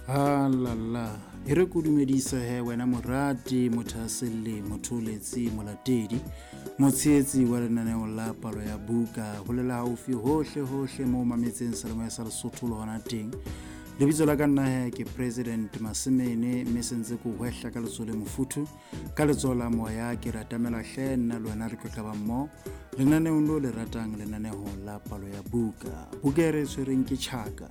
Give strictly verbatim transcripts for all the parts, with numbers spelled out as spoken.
Halala, e re ko dumedise he wena morati, mothahaselli, motholetsi, molatedi, motshehetsi wa lenaneo la palo ya buka, ho lela haufi hohle hohle moo mametseng Seyalemoya sa Lesotho le hona teng. Lebitso la ka nna he ke President Masemene, mme se ntse ke hwehla ka letsoho le mofuthu, ka letsoho la moya ke ratamela hle nna le wena re tlo tlaba mmoho lenaneong leo le ratang, lenaneo la palo ya buka. Buka e re e tshwereng ke Tjhaka,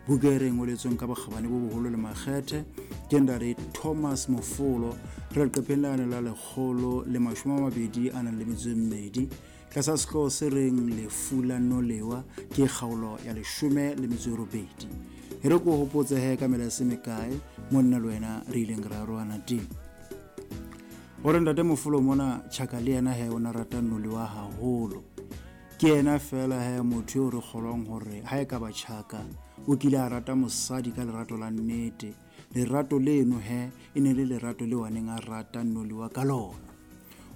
buka e re ngoletsweng ka bokgabane bo boholo le makgethe ke ntate Thomas Mofolo, re leqepheng lane la lekgolo le mashome a mabedi a nang le metso e mmedi, tlasa sehlooho se reng Lefu la Nolewa, ke kgaolo ya leshome le metso e robedi. E re ko hopotse he ka mela e se mekae mo nna le wena re ileng ra arohana teng. Hore ntate Mofolo mona Tjhaka le yena he o na rata Nolewa haholo. Ke yena feela he motho eo re kgolwang hore ha e ka ba Tjhaka o kile a rata mosadi ka lerato la nnete. Lerato leno he e ne le lerato leo a neng a rata Nolewa ka lona.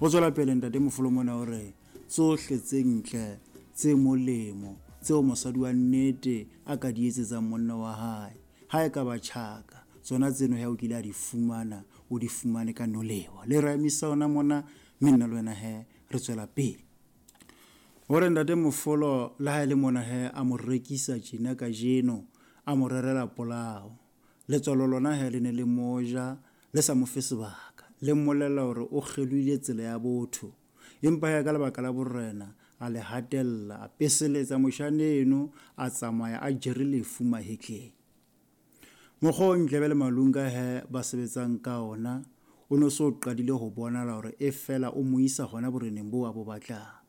O tswela pele ntate Mofolo mona hore tsohle tse ntle tse molemo tseo mosadi wa nnete a ka di etsetsang monna wa hae, ha e ka ba Tjhaka, tsona tseno he o kile a di fumana, o di fumane ka Nolewa. Le ra emisa ona mona, mme nna le wena he re tswela pele. Hore ntate Mofolo le ha e le mona he a mo rekisa tjena kajeno, a mo rerela polao. Letswalo lona he le ne le mo ja, le sa mo fe sebaka, le mmolella hore o kgelohile tsela ya botho. Empa he ka lebaka la borena a le hatella, a peseletsa moshaneno, a tsamaya a jere lefu mahetleng. Mokgwa o Ndlebe le Malunga he ba sebetsang ka ona o no so qadile ho bonahala hore e fela o mo isa hona boreneng boo a bo batlang.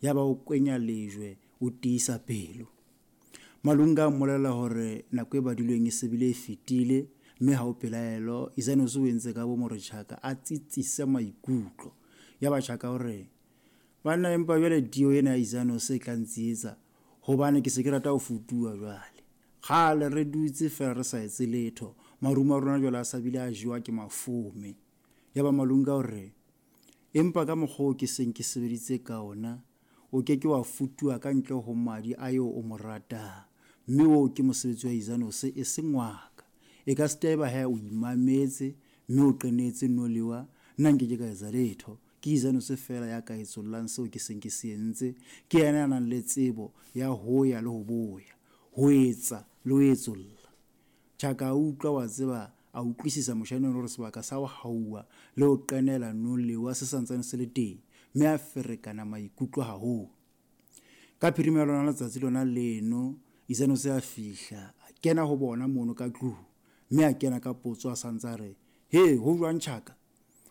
Yaba o kwenya lejwe, o tiisa pelo. Malunga a mmolella hore nako e badilweng e se bile e fetile, mme ha ho pelaelo Izanose o entse ka bomo hore Tjhaka a tsitsise maikutlo. Yaba Tjhaka o re, banna empa jwale tio ena ya Izanose e tla ntsietsa, hobane ke se ke rata ho futuwa jwale. Kgale re dutse feela re sa etse letho, marumo a rona jwale a sa bile a jewa ke mafome. Yaba Malunga o re, empa ka mokgwa oo ke seng ke sebeditse ka ona, o ke ke wa futuwa ka ntle ho madi a eo o mo ratang, mme oo ke mosebetsi wa Izanose e seng wa ka. E ka se eba he o imametse mme o qenetse Nolewa, nna nke ke ka etsa letho. Ke Izanose feela ya ka etsollang seo ke seng ke se entse. Ke yena ya nang le tsebo ya ho ya le ho boya, ho etsa le ho etsolla. Tjhaka a utlwa, wa tseba, a utlwisisa moshaneng hore sebaka sa ho hauwa le ho qenela Nolewa se santsane se le teng, mme a ferekana maikutlo haholo. Ka phirima ya lona letsatsi lona leno, Izanose a fihla, a kena ho bona mono ka tlung, mme a kena ka potso a santsa a re, he, ho jwang Tjhaka?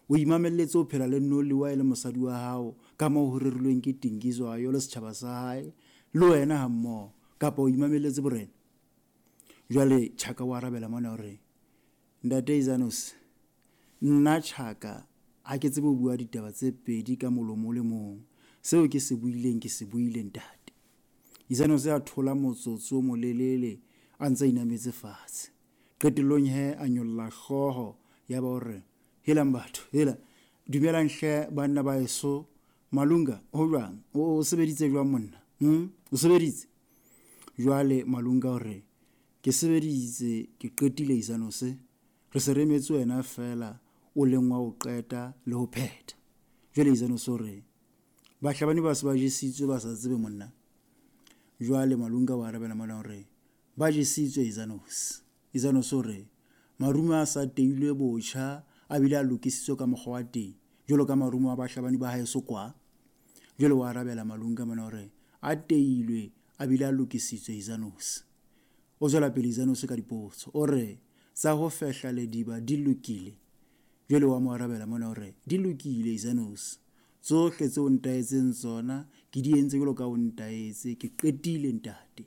O imamelletse ho phela le Nolewa e le mosadi wa hao ka moo ho rerilweng ke Dingizwayo le setjhaba sa hae le wena hammoho, kapa o imamelletse borena? Jwale Tjhaka o arabela mona hore, ntate Izanose, nna Tjhaka ha ke tsebe ho bua ditaba tse pedi ka molomo o le mong. Seo ke se buileng ke se buile ntate. Izanose a thola motsotso o molelele a ntse a inametse fatshe. Qetellong he a nyolla hlooho yaba o re, helang batho, hela, dumelang hle banna ba heso. Malunga, ho jwang? O sebeditse jwang monna? Hmm? O sebeditse? Jwale Malunga o re, ke sebeditse, ke qetile Izanose. Re se re emetse wena feela o leng wa ho qeta le ho phetha. Jwale Izanose o re, bahlabani ba se ba jesitswe ba sa tsebe monna. Jwale Malunga o arabela mona hore ba jesitswe Izanose. Izanose o re, marumo a sa teilwe botjha a bile a lokisitswe ka mokgwa wa teng jwalo ka marumo a bahlabani ba haeso kwa. Jwale o arabela Malunga mona hore a teilwe a bile a lokisitswe Izanose. O tswela pele Izanose ka dipotso, o re tsa ho fehla lediba di lokile. Jwale wa mo arabela mona hore di lokile Izanose, tsohle tseo ntaetseng tsona ke di entse jwalo ka o ntaetse, ke qetile ntate.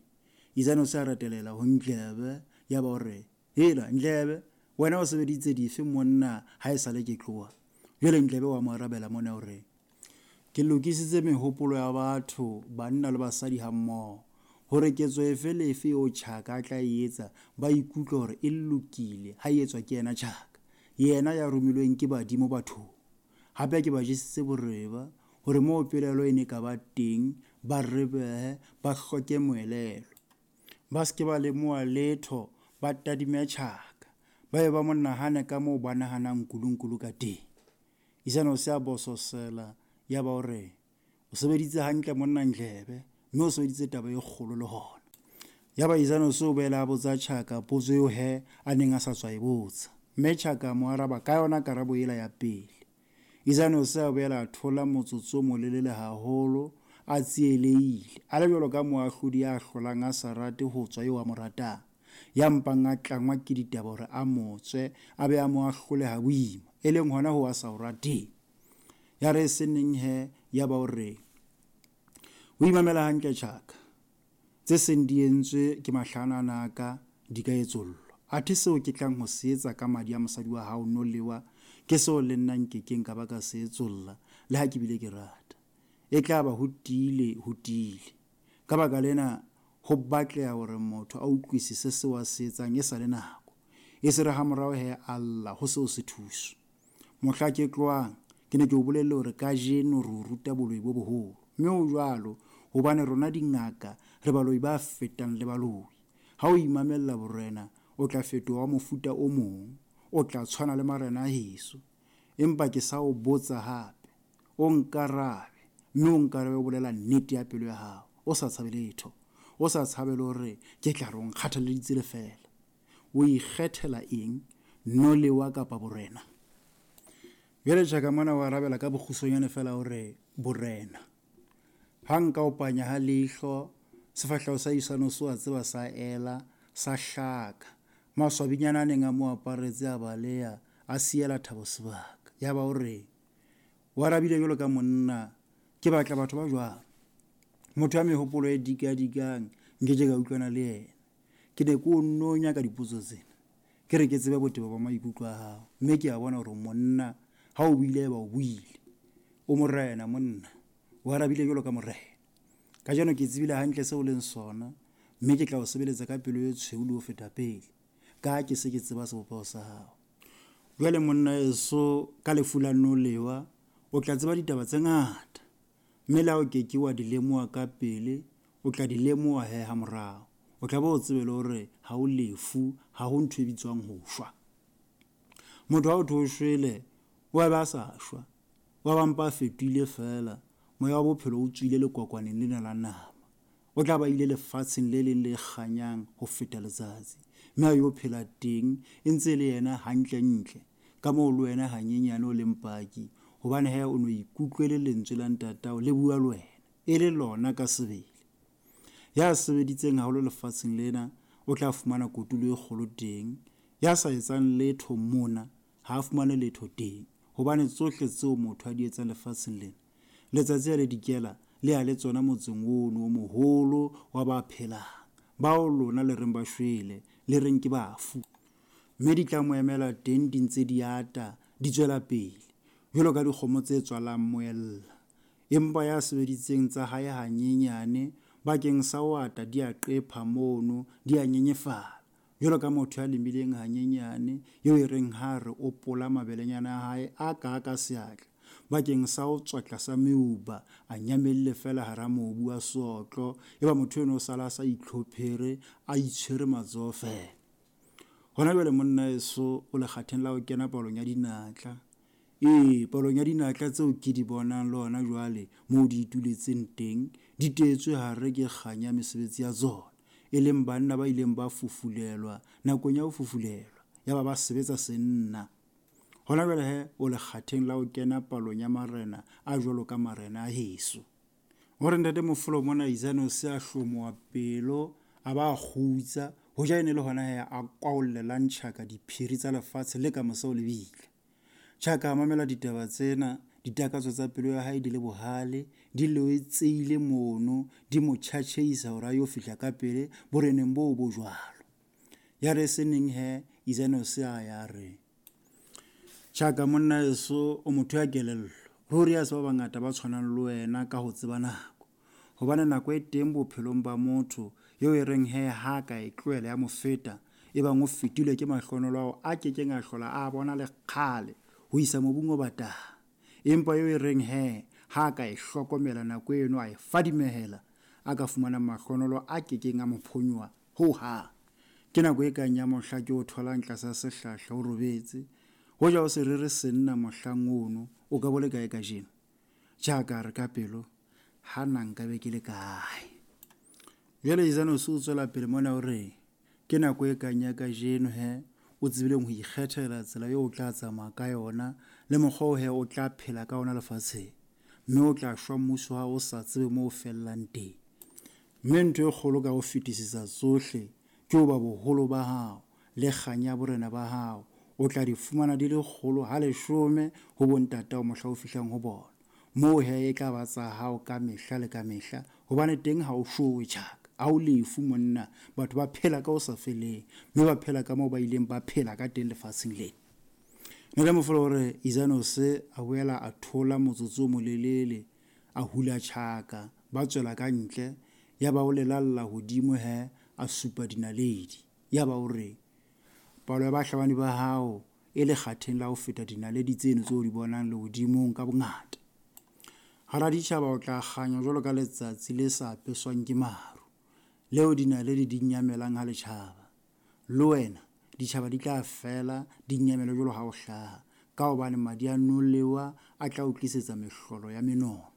Izanose a ratelela ho Ndlebe, yaba o re, hela Ndlebe, wena o sebeditse dife monna ha e sale ke tloha? Jwale Ndlebe wa mo arabela mona hore ke lokisitse mehopolo ya batho, banna le basadi hammoho, hore ketso efe le efe eo Tjhaka a tla e etsa ba ikutlwe hore e lokile ha e etswa ke yena Tjhaka, yena ya romilweng ke badimo bathong. Hape ke ba jesitse boreba hore moo pelaelo e ne ka ba teng ba rebehe, ba hloke moelelo, ba se ke ba lemoha letho, ba tadime Tjhaka. Ba be ba mo nahane ka moo ba nahanang Nkulunkulu ka teng. Isanose a bososela ya ba o re, o sebeditse hantle monna Ndlebe, mme o sebeditse taba e kgolo le hona. Yaba Isanose o boela a botsa Tjhaka potso eo he a neng a sa tswa e botsa. Mme Tjhaka a mo araba ka yona karabo ela ya pele. Isanose a boela a thola motsotso o molelele haholo, a tsielehile, a le jwalo ka moahlodi ya hlolang a sa rate ho tswa eo a mo ratang, ya mpang a tlangwa ke ditaba hore a mo tswe, a be a mo ahlole ha boima, e leng hona ho a sa o rateng. Ya re se neng he, ya ba o re, o imamela hantle Tjhaka, tse seng di entswe ke mahlanana a ka di ka etsollwa. Athe seo ke tlang ho se etsa ka madi a mosadi wa hao Nolewa, ke seo le nna nkekeng ka ba ka se etsolla, le ha ke bile ke rata. E tla ba ho tiile, ho tiile. Ka baka lena, ho batleha hore motho a utlwisise seo a se etsang e sa le nako. E se re hamorao he a lla ho seo se thuso. Mohla ke tlohang, ke ne ke o bolelle hore kajeno re o ruta boloi bo boholo. Mme ho jwalo, hobane rona dingaka re baloi ba fetang le baloi. Ha o imamella borena, o tla fetoha wa mofuta o mong, o tla tshwana le marena a heso. Empa ke sa o botsa hape, o nkarabe, mme o nkarabe o bolela nnete ya pelo ya hao, o sa tshabe letho, o sa tshabe le hore ke tla re o nkgathalleditse lefeela. O ikgethela eng, Nolewa kapa borena? Jwale Tjhaka mona o arabela ka bokgutshwanyane feela hore borena. Ha nka o panya ha leihlo, sefahleho sa Isanose wa tseba sa ela, sa hlaka. Maswabinyana a neng a mo aparetse a baleha, a siela Thabo sebaka. Ya ba o re, o arabile jwalo ka monna, ke batla batho ba jwang? Motho ya mehopolo e dikadikang, nke ke ka utlwana le yena. Ke ne ke o nonya ka dipotso tsena. Ke re ke tsebe botebo ba maikutlo a hao, mme ke a bona hore monna ha o buile ba o buile. O morena monna, o arabile jwalo ka morena. Kajeno ke tsebile hantle seo o leng sona, mme ke tla o sebeletsa ka pelo e tshweu le ho feta pele, ka ha ke se ke tseba sebopeho sa hao. Jwale monna eso ka lefu la Nolewa, o tla tseba ditaba tse ngata, mme le ha o ke ke wa di lemoha ka pele, o tla di lemoha he hamorao. O tla be o tsebe le hore ha o lefu, ha ho ntho e bitswang ho shwa. Motho ha o thwe o shwele, o a be a sa shwa, wa ba mpa a fetohile feela, moya wa bophelo o tswile lekwakwaneng lena la nama. O tla ba ile lefatsheng le leng le kganyang ho feta letsatsi, mme a yo phela teng e ntse le yena hantle-ntle, ka moo le wena hanyenyane o leng paki, hobane he o no ikutlwele lentswe la ntatao le bua le wena, e le lona ka sebele. Ya sebeditseng haholo lefatsheng lena o tla fumana kotulo e kgolo teng, ya sa etsang letho mona ha a fumane letho teng, hobane tsohle tseo motho a di etsang lefatsheng lena, letsatsi ha le dikela le ya le tsona motseng ono o moholo wa ba phelang, bao lona le reng ba shwele, le reng ke bafu. Mme di tla mo emela teng di ntse di ata, di tswela pele, jwalo ka dikgomo tse tswalang moella. Empa ya sebeditseng tsa hae hanyenyane, bakeng sa ho ata di a qepha mono, di a nyenyefala. Jwalo ka motho ya lemileng hanyenyane, eo e reng ha re o pola mabelenyana a hae a ka ka seatla, bakeng sa ho tswa tlasa meuba, a nyamelle feela hara mobu wa seotlo, eba motho eno o sala a sa itlhophere, a itshwere matsoho feela. Hona jwale monna eso o lekgatheng la ho kena palong ya dinatla. Ee, palong ya dinatla tseo ke di bonang le hona jwale moo di ituletseng teng, di teetswe hare ke kganya mesebetsi ya tsona, e leng banna ba ileng ba fufulelwa nakong ya ho fufulelwa, ya ba ba sebetsa senna. Hona jwale he o lekgatheng la ho kena palong ya marena a jwalo ka marena a heso. Hore ntate Mofolo mona Isanose a hlomoha pelo, a ba a kgutsa, hoja e ne le hona he a kwaollelang Tjhaka diphiri tsa lefatshe le ka mose ho lebitla. Tjhaka a mamela ditaba tsena, ditakatso tsa pelo ya hae di le bohale, di loetseile mono, di mo tjhatjheisa hore a yo fihla ka pele boreneng boo bo jwalo. Ya re se neng he Isanose a ya re, Tjhaka monna eso o motho ya kelello, ruri ha se ba bangata ba tshwanang le wena ka ho tseba nako. Hobane nako e teng bophelong ba motho eo e reng he ha ka e tlohela ya mo feta, e bang o fetilwe ke mahlonolo ao a kekeng a hlola a bona le kgale ho isa mobung o batang. Empa eo e reng he ha ka e hlokomela nako eno a e fadimehela, a ka fumana mahlonolo a kekeng a mo phonyoha ho hang. Ke nako e kang ya mohla ke o tholang tlasa sehlahla o robetse. Hoja o se rere senna mohlang ono, o ka bo le kae kajeno? Tjhaka a re ka pelo, hana nka be ke le kae? Jwale Izanose o tswela pele mona o re, ke nako e kang ya kajeno he, o tsebileng ho ikgethela tsela eo o tla tsamaya ka yona le mokgwa o he o tla phela ka ona lefatsheng. Mme o tla shwa mmuso wa hao o sa tsebe moo o fellang teng. Mme ntho e kgolo ka ho fetisisa tsohle ke hoba boholo ba hao le kganya ya borena ba hao o tla di fumana di le kgolo ha leshome ho bontatao mohla o fihlang ho bona. Moo he e tla ba tsa hao ka mehla le ka mehla, hobane teng ha o showe Tjhaka, ha o lefu monna. Batho ba phela ka ho sa feleng, mme ba phela ka moo ba ileng ba phela ka teng lefatsheng lena. Ntate Mofolo o re Izanose a boela a thola motsotso o molelele, a hula Tjhaka, ba tswela ka ntle, ya ba o lelalla hodimo he, a supa dinaledi. Ya ba o re, palo ya bahlabani ba hao e lekgatheng la ho feta dinaledi tseno tseo di bonang lehodimong ka bongata. Hara ditjhaba o tla kganya jwalo ka letsatsi le sa apeswang ke maru, leo dinaledi di nyamelang ha le tjhaba. Le wena ditjhaba di tla fela di nyamele jwalo ha o hlaha, ka hobane madi a nolewa a tla o tlisetsa mehlolo ya menono.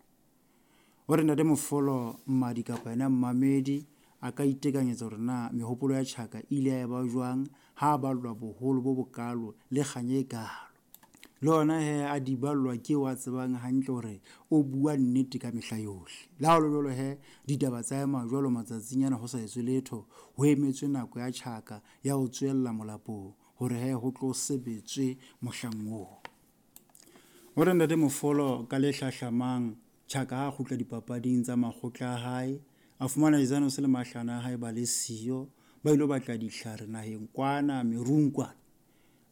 O re Ntate Mofolo, mmadi kapa yena mmamedi a ka itekanyetsa hore na mehopolo ya Tjhaka e ile ya eba jwang ha a ballwa boholo bo bokalo le kganya e kalo. Le hona he a di ballwa ke eo a tsebang hantle hore o bua nnete ka mehla yohle. Le ha ho le jwalo he, ditaba tsa ema jwalo matsatsing ana ho sa etswe letho, ho emetswe nako ya Tjhaka ya ho tswella molapong hore he ho tlo sebetswe mohlang oo. O re Ntate Mofolo ka le hlahlamang Tjhaka ha a kgutla dipapading tsa makgotla a hae, a fumana Izanose le mahlana a hae ba le siyo, ba ilo batla ditlhare naheng kwana merung kwana.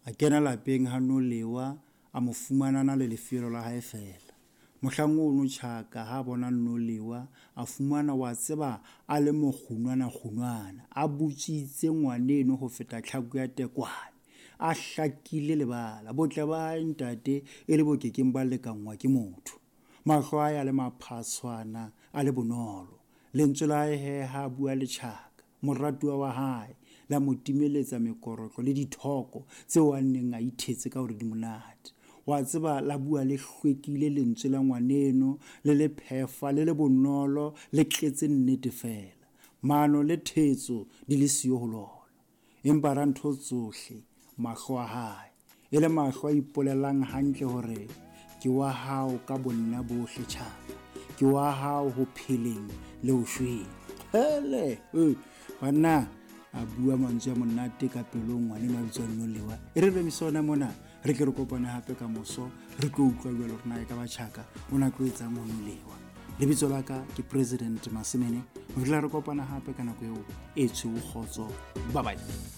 A kena lapeng ha Nolewa, a mo fumana na le lefeelo la hae feela. Mohlang ono Tjhaka ha bona Nolewa, a fumana wa tseba a le mokgunwana kgunwana, a butswitse ngwaneno ho feta tlhaku ya tekwane, a hlakile lebala, botle ba hae ntate e le bo kekeng ba lekanngwa ke motho. Mahlo a hae a le maphatshwana, a le bonolo. Lentswe la hae he ha bua le Tjhaka, moratuwa wa hae, la mo timeletsa mekorotlo le dithoko tseo a neng a ithetse ka hore di monate. Wa tseba la bua le hlwekile lentswe la ngwaneno, le le phefa, le le bonolo, le tletse nnete feela. Mano le thetso di le siyo ho lona. Empa ra ntho tsohle, mahlo a hae e le mahlo a ipolelang hantle hore ke wa hao ka bonna bohle Tjhaka, ke wa hao ho pheleng le ho shweng. Hele, eh, banna a bua mantswe a monate ka pelong ngwaneno a bitswang Nolewa. E re remise ona mona, re ke re kopane hape ka moso, re tlo utlwa jwalo hore na e ka ba Tjhaka o na tlo etsang ho Nolewa. Lebitso la ka ke President Masemene. Ho fihlela re kopana hape ka nako eo e tshweu kgotso. Bye bye.